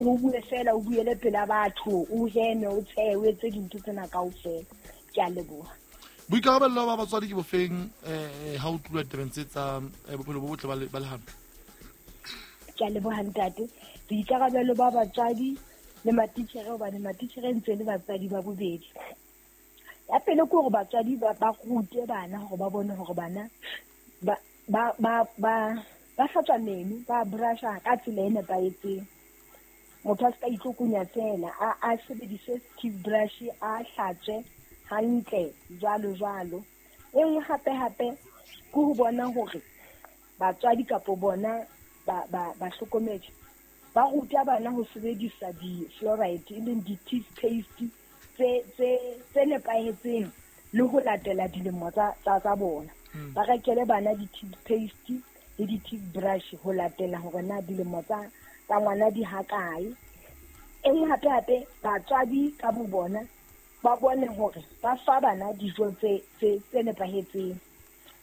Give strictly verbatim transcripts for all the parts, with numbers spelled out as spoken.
O bue fela, o buele pela batho, o heme, o tshehe, o etse dintho tsena kaofela. Ke a leboha. Boikarabelo ba batswadi ke bofeng eh ha o tluwa tabeng tse tsa bophelo bo botle ba lehano? Ke a leboha ntate. Boikarabelo ba batswadi le matitjhere, hobane matitjhere ntse le batswadi ba bobedi. Ya pele ke hore batswadi ba ba rute bana hore ba bone hore bana ba ba ba ba ba hlatswa meno, ba brusha ka tsela e nepahetseng. Motho a se ka itlokonya fela, a a sebedise toothbrush, a hlatswe hantle jwalo jwalo. E nngwe hape hape ke ho bona hore batswadi kapo bona ba ba bahlokomedi ba ruta bana ho sebedisa di-fluoride, e leng di-toothpaste tse tse tse nepahetseng le ho latela dilemo tsa tsa tsa bona. Ba rekele bana di-toothpaste le di-toothbrush ho latela hore na dilemo tsa tsa ngwana di hakae. E nngwe hape hape batswadi ka bo bona ba bone hore ba fa bana dijo tse tse tse nepahetseng,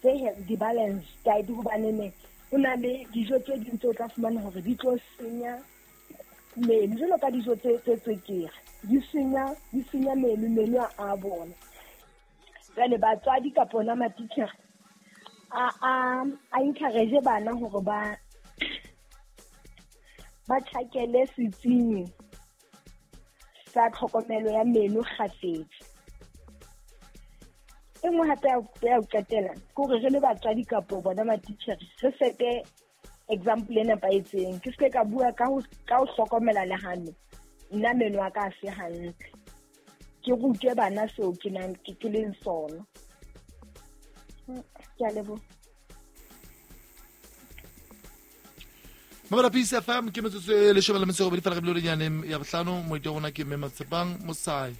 tse di-balance diet, hobane ne ho na le dijo tse ding tse o tla fumana hore di tlo senya meno, jwalo ka dijo tse tse tswekere di senya di senya meno meno a bona. Jwale batswadi kapa ona matitjhere a a a encourage bana hore ba ba tjhakele setsing sa tlhokomelo ya meno kgafetsa. E nngwe hape ya ho qetela ke hore re le batswadi kapo bona matitjhere re sete example e nepahetseng. Ke se ka bua ka ho ka ho hlokomela lehano, nna meno a ka a se hantle, ke rute bana seo ke nang ke ke leng sona. Ke a leboha. Mamela Peace F M ke metsotso e leshome le metso e robedi fela re bile nyaneng ya bohlano. Moeti wa rona ke Mme Matshepang Mosai,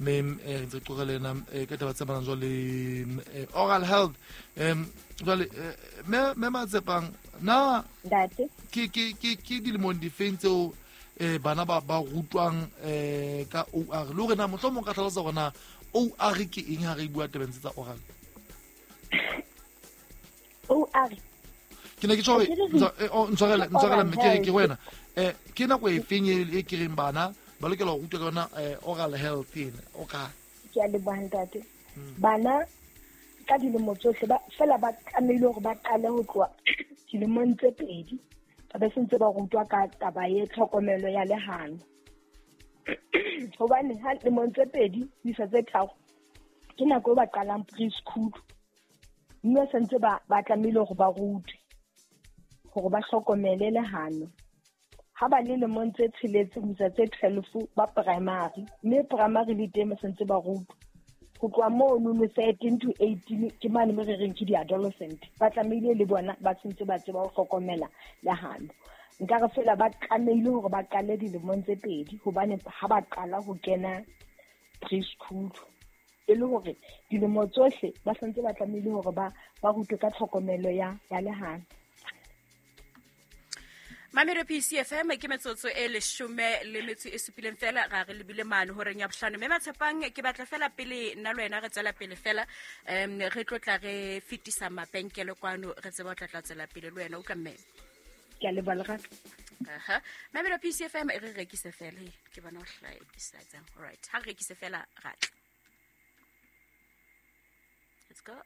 mme re ntse re qoqa le ena ka taba tse amanang jwale le oral health. um Jwale mme mme Matshepang, na ntate ke ke ke ke dilemong difeng tseo eh bana ba ba rutwang eh ka O R, le hore na mohlomong ka hlalosa hore na O R ke eng ha re bua tabeng tse tsa oral? O R ke ne ke tjho hore ntshwarele ntshwarele mme ke re ke wena eh ke nako e feng e ke reng bana ba lokela ho rutwa ka yona oral health ena? O ka ke a leboha ntate. Bana ka dilemo tsohle ba fela ba tlamehile hore ba qale ho tloha dilemong tse pedi ba be sentse ba rutwa ka taba e tlhokomelo ya lehano. Hobane ha lemong tse pedi ho isa tse tharo ke nako e ba qalang preschool, mme sentse ba ba tlamehile hore ba rutwe hore ba hlokomele lehano. Ha ba le lemong tse tsheletseng ho isa tse twelve ba primary, mme primary le teng sentse ba rutwa. Ho tloha mono no thirteen to eighteen ke mane mo re reng ke di-adolescent, ba tlamehile le bona ba sentse ba tseba ho hlokomela lehano. Nka re fela ba tlamehile hore ba qale dilemong tse pedi, hobane ha ba qala ho kena preschool e le hore dilemo tsohle ba sentse ba tlamehile hore ba ba rutwe ka tlhokomelo ya ya lehano. Mamelo P C F M ke metsotso e leshome le metso e supileng fela ra re lebile mane horeng ya bohlano. Mme Matshepang ke batla fela pele nna le wena re tswela pele fela um re tlotla re fetisa mabenkele kwano re tseba ho tla tla tswela pele le wena o ka mme. Ke a leboha Lerato. Aha. Mamelo P C F M e re rekise fela, ke bona ho hlaekisa tsang. All right. Ha re rekise fela ra tla. Let's go.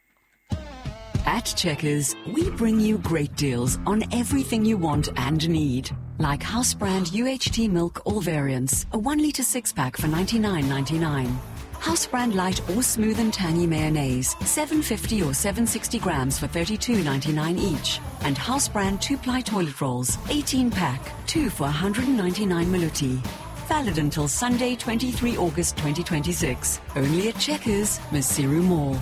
At Checkers, we bring you great deals on everything you want and need. Like house brand U H T milk, all variants, a one litre six-pack for ninety-nine ninety-nine. House brand light or smooth and tangy mayonnaise, seven fifty or seven sixty grams for thirty-two ninety-nine each. And house brand two-ply toilet rolls, eighteen pack, two for one hundred ninety-nine maluti. Valid until Sunday, twenty-three August twenty twenty-six. Only at Checkers, Maseru Mall.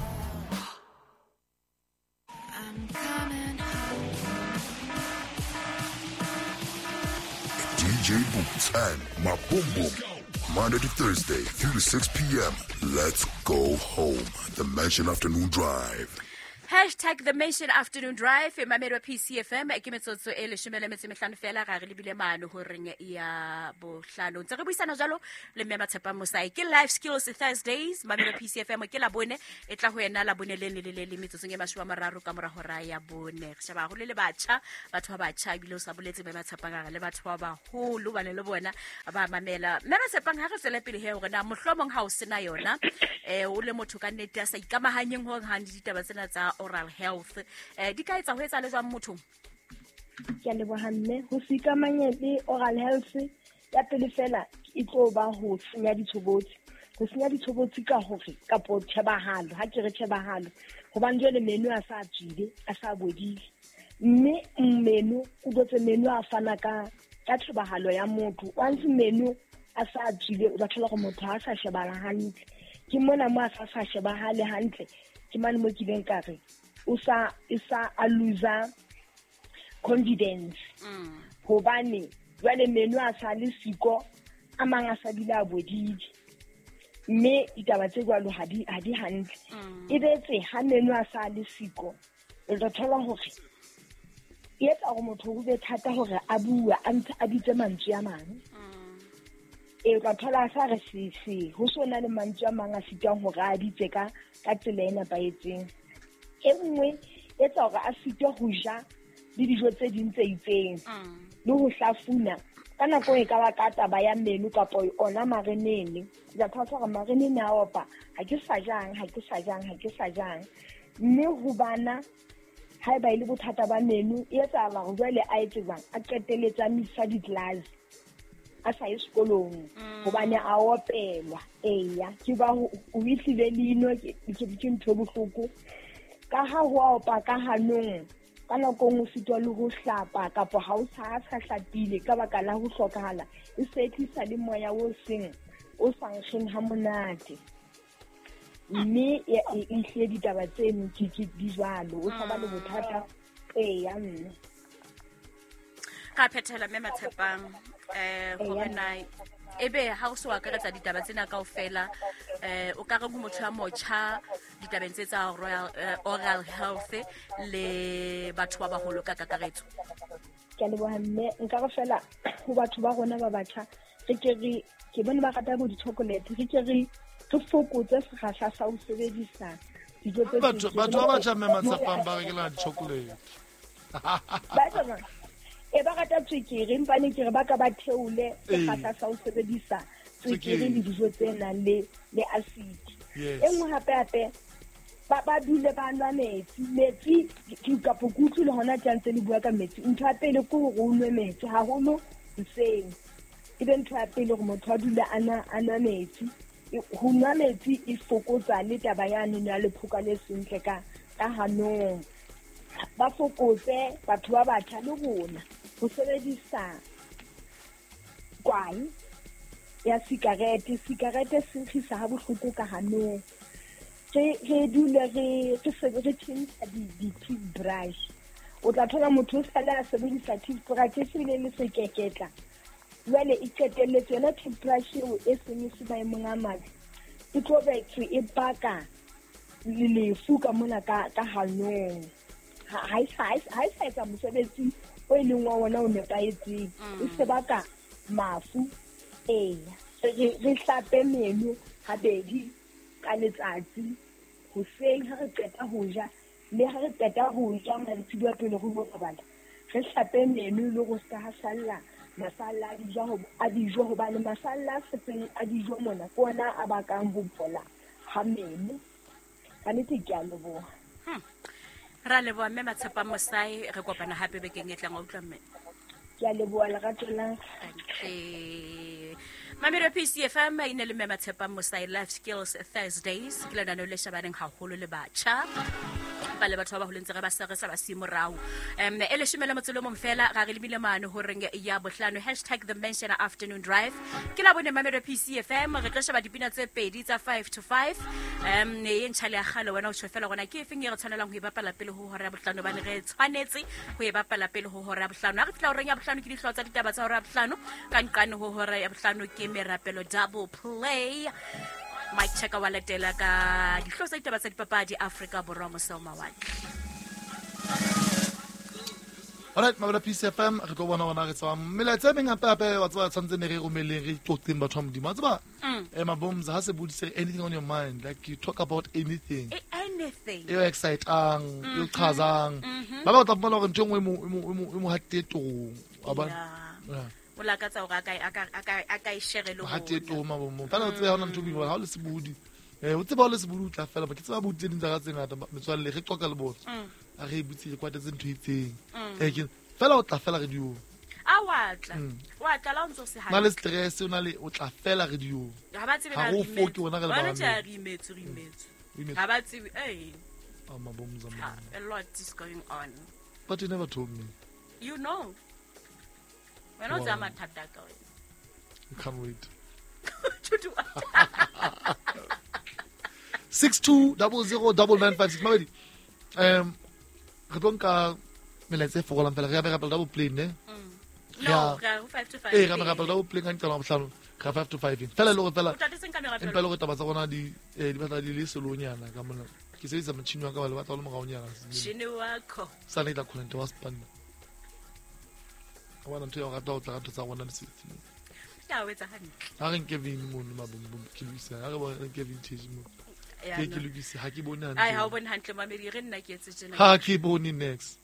D J Boots and Maboom, Monday to Thursday, three to six p.m. Let's go home. The Mansion Afternoon Drive. Hashtag the Mention Afternoon Drive mamedi wa P C F M ke metsotso e leshome le metso e mehlano fela ga re lebile mano horeng ya bohlano. Ntse re buisana jalo le mme Matshepang Mosai ke Life Skills Thursdays mamedi wa P C F M ke la bone e tla ho yena la bone le le le le metsotsong e mashome a mararo ka mora hora ya bone. Re sheba haholo le batjha, batho ba batjha ebile o sa boletse mme Matshepang a re le batho ba baholo bane le bona ba mamela. Mme Matshepang ha re tswele pele he hore na mohlomong ha o sena yona eh o le motho ka nnete a sa ikamahanyeng hore ha ditaba tsena tsa oral health eh di ka etsa ho etsa le jwang motho? Ke a leboha mme. Ho se ikamanye le oral health ya pele fela e tlo ba ho senya ditshobotsi. Ho senya ditshobotsi ka hore kapo tjhebahalo, ha ke re tjhebahalo hobane jwale meno a sa tswile, a sa bodile, mme meno o dotse meno a fana ka ka tjhebahalo ya motho. Once meno a sa tswile o tla thola hore motho ha sa shebala hantle. Ke mona mo a sa sa shebahale hantle, ke mane mo kileng ka re o sa e sa a loser confidence. Hobane jwale meno a sa le siko, a mang a sa bile a bodile, mme ditaba tse jwalo ha di ha di hantle. E betse ha meno a sa le siko, o tla thola hore e etsa hore motho ho be thata hore a bue, a ntse a bitse mantswe a mang. E o tla thola a sa re se se ho sona le mantswe a mang a sitang hore a bitse ka ka tsela e nepahetseng. E nngwe e etsa hore a sitwe ho ja le dijo tse ding tse itseng le ho hlafuna ka nako e ka ba ka taba ya meno kapa ona marenene. Ke tla thola hore marenene a opa, ha ke sa jang, ha ke sa jang, ha ke sa jang. Mme ho bana haeba e le bothata ba meno e etsahala hore jwale a etse jwang, a qetelletse a misa di-class, a sa ye sekolong hobane a opelwa. Eya, ke ba o ehlile leino ke ke ntho e bohloko ka ha ho opa ka hanong. Ka nako nngwe o sitwa le ho hlapa kapa ha o sa sa hlapile ka baka la ho hlokahala, e se tlisa le moya o seng o sa nkgeng ha monate. Mme e ehlile ditaba tseno ke ke di jwalo, o sa ba le bothata. Eya mme ka phethela mme Matshepang eh hore na ebe ha o so akaretsa ditaba tsena kaofela eh o ka re ho motho ya motjha ditabeng tse tsa royal oral health le batho ba baholo ka kakaretso? Ke a leboha mme. Nka re fela ho batho ba rona ba batjha re ke re ke bone ba rata bo di-chocolate, re ke re re fokotse sekgahla sa ho sebedisa dijo tse batho batho ba batjha mme Matshepang ba rekela di-chocolate. Ba tsona e ba rata tswekere, empa ne ke re ba ka ba theole sekgahla sa ho sebedisa tswekere le dijo tse nang le le acid. E nngwe hape hape ba ba dule ba nwa metsi. Metsi ke kapo ke utlwile hona tje ntse le bua ka metsi. Ntho ya pele ke hore o nwe metsi haholo hoseng, e be ntho ya pele hore motho a dule a nwa a nwa metsi. Ho nwa metsi e fokotsa le taba yane ya lephoka le sentle ka ka hanong. Ba fokotse batho ba batjha le rona ho sebedisa kwae ya sikarete. Sikarete se nkgisa ha bohloko ka hanong. Re re dule re re re tjhentjha di-toothbrush. O tla thola motho o sale a sebedisa toothbrush e se bile le sekeketla, jwale e qetelletse yona toothbrush eo e seng e se maemong a mabe, e tlo betswe e baka lefu ka mona ka ka hanong. Ha e sa ha e sa etsa mosebetsi o e leng wa ona o nepahetseng, e se baka mafu. Eya, re re hlape meno habedi ka letsatsi, hoseng ha re qeta ho ja le ha re qeta ho ja mantsiboya pele re lo robala, re hlape meno le go ska ha salla masalla a dijo a dijo hobane masalla a setseng a dijo mona ke ona a bakang ho bola ha meno. Ka nnete ke a leboha. Ra leboha mme Matshepang Mosai, re kopana hape bekeng e tlang. Wa utlwa mme? Ke a leboha lerato la. Mamedi wa P C F M e ne le mme Matshepang Mosai, Life Skills Thursdays ke lenaneo le shebaneng haholo le batjha ba le batho ba baholo ntse re ba sa re sa ba siye morao. Um e leshome le motso le mong fela ga re lebile mane horeng ya bohlano. Hashtag the Mention Afternoon Drive ke la bone mamedi wa P C F M. Re tlo sheba dipina tse pedi tsa five to five. Um e ntjha le ya kgale wena o tjho fela gona ke efeng e re tshwanelang ho e bapala pele ho hora ya bohlano, bane re tshwanetse ho e bapala pele ho hora ya bohlano. Ha re fihla horeng ya bohlano ke dihlooho tsa ditaba tsa hora ya bohlano, ka nqane ho hora ya bohlano ke merapelo double play. Mike Chaka wa latela ka dihlooho tsa ditaba tsa dipapadi Afrika Borwa mose ho mawatle. Alright, mabela Peace F M re tlo bona hore na re tswa melaetsa e meng hape hape wa tseba tshwantse ne re romeleng re qoqeng batho ba Modimo. Wa tseba eh Maboms ha se bodise anything on your mind, like you talk about anything. Anything. E excitang, e qhazang. Ba ba tla bona hore ntho e nngwe e mo e mo hatile torong. Wa bona? Yeah. O lakatsa hore a ka a ka a ka e share le ho. Hatile torong Mabomo. Fela o tseba hona ntho e boima ha o le sebodi. Eh o tseba o le sebodi o tla fela, ke tseba bodi tse ding tsa ka tse ngata metswalle re qoqa le bona. A re butse re kwatetse ntho e itseng. Eh ke fela o tla fela radio. A wa tla. Wa tla la o ntso se ha. Na le stress o na le o tla fela radio. Ha ba tsebe na re. Ha o wona re le ba. Ba re imetse re imetse. Ha ba tsebe eh. Ah Maboms a. A lot is going on. But you never told me. You know. Wena o tsaya mathata ka wena. You can't wait. To do what? six two double zero double nine five six. Mabedi. Um re tlo nka melaetsa e fokolang fela re ya rapela double plane ne. No, re go five to five. Eh re rapela double plane ka nqala bohlano re five to five. Fela le gore fela. Empa le gore taba tsa rona di di batla di le selonyana ka mona. Ke sebedisa motjhini wa ka ba le batla le moraonyana. Motjhini wa ko. Sa ne tla khonente wa spanna. Wa ntho ya rata o tla ka tsa rona le setsi. Ya o etsa hantle. Ha re nke vin mono Mabombom ke lokisa. Ha re bona nke vintage mo. Ke ke lokise ha ke bone hantle. Ai ha o bone hantle mamedi re nna ke etse tjena. Ha ke bone next.